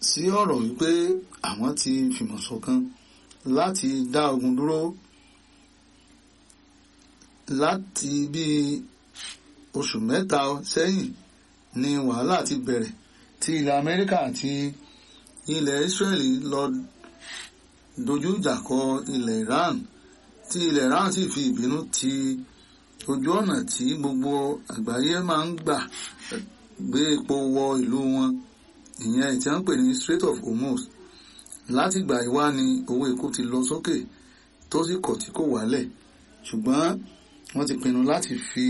Sí ọ̀rọ̀ wípé àwọn ti fìmọ̀ ṣọ̀kan láti dá ogun dúró láti bí oṣù 3 sẹ́yìn ni wàhálà ti bẹ̀rẹ̀ tí ilẹ̀ Amẹ́ríkà àti ilẹ̀ Israeli lọ dojú ìjà kọ ilẹ̀ Iran, tí ilẹ̀ Iran sì fi ìbínú ti ojú ọ̀nà tí gbogbo àgbáyé máa ń gbà gbé epo wọ ìlú wọn, ìyẹn tí wọ́n ń pè ní Strait of Hormuz. Látìgbà yìí wá ni owó epo ti lọ sókè tó sì kọ̀ tí kò wálẹ̀, ṣùgbọ́n wọ́n ti pinnu láti fi